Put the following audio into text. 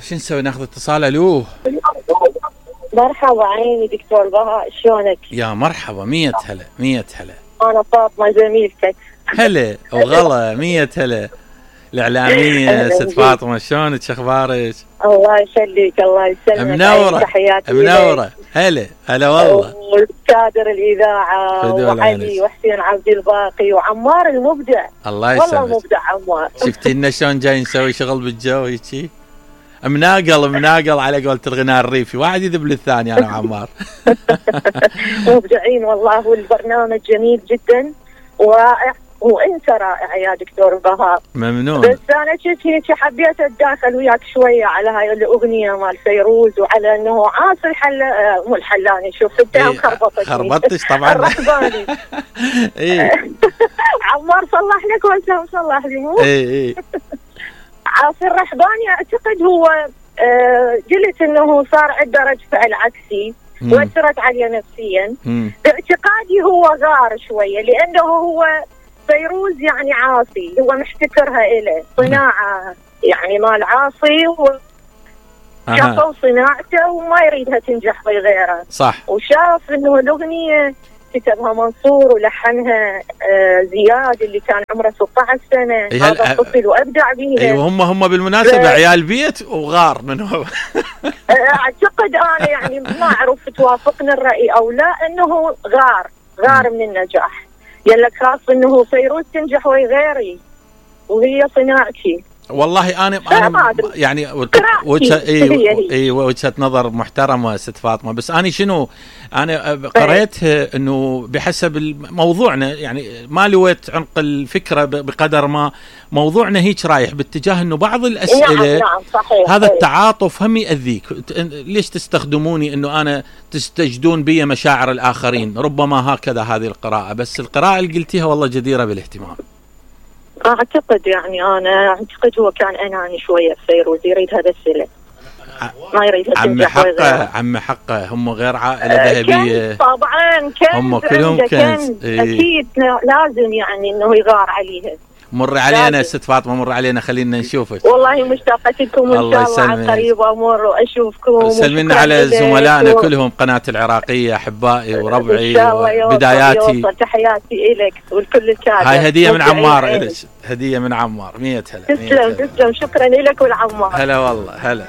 شو نسوي؟ ناخذ اتصال. الو مرحبا عيني دكتور بهاء، شلونك؟ يا مرحبا، 100 هلا 100 هلا. انا فاطمه زميلتك. هلا وغلا، 100 هلا. الاعلاميه ست فاطمه، شلونك؟ شو اخبارك؟ الله يخليك، الله يسلمك. منوره تحياتي منوره. هلا هلا والله. وكادر الاذاعه وعلي وحسين عبد الباقي وعمار المبدع. الله يسلمك. والله مبدع عمار. شفتي لنا شلون جاي نسوي شغل بالجو هيجي؟ مناقل على قولة الغناء الريفي، واحد يذب للثاني انا وعمار. مبدعين والله، والبرنامج جميل جدا ورائع، وانت رائع يا دكتور بهاء. ممنون. بس انا كنت هيك حبيت اتداخل وياك شويه على هاي الاغنيه مال فيروز، وعلى انه عاصي مو الحلاني، شوف التهم خربطتش طبعا. الرحباني. ايه عمار صلح لك وانت صلح لي مو؟ ايه عاصي الرحباني اعتقد هو قلت انه صار عنده رد فعل عكسي واثرت عليه نفسيا. باعتقادي هو غار شويه، لانه هو فيروز يعني عاصي، هو محتكرها إله صناعة يعني مال عاصي، شافوا صناعته وما يريدها تنجح في غيره. صح. وشاف انه الاغنيه كتبها منصور ولحنها زياد اللي كان عمره 16 سنه، هذا الطفل وابدع بيها. ايوه هم بالمناسبه عيال بيت وغار من هو. اعتقد انا يعني ما اعرف توافقني الراي او لا، انه غار من النجاح. يلك خاص انه فيروز تنجح وهي غيري وهي صناعتي. والله انا يعني وجهه نظر محترمه ست فاطمه، بس انا شنو انا قريت انه بحسب موضوعنا يعني ما لويت عمق الفكره بقدر ما موضوعنا هيك رايح باتجاه انه بعض الاسئله نعم صحيح. هذا التعاطف هم يأذيك. ليش تستخدموني انه انا تستجدون بي مشاعر الاخرين؟ ربما هكذا هذه القراءه، بس القراءه اللي قلتيها والله جديره بالاهتمام. اعتقد يعني انا اعتقد هو كان اناني شويه فيروز، يريد هذا السله ما يريد تنجح. عم حقه هم غير عائله ذهبيه طبعا، كنز هم كلهم كنز. اكيد لازم يعني انه يغار عليها. مر علينا ست فاطمه، مر علينا خلينا نشوفك. والله مشتاقه لكم ان شاء الله على قريب امر واشوفكم. سلمنا على زملائنا كلهم قناه العراقيه، احبائي وربعي وبداياتي. تحياتي لك ولكل الكادر. هاي هديه من عمار إلك، هديه من عمار. 100 هلا. تسلم شكرا لك ولعمار. هلا والله هلا.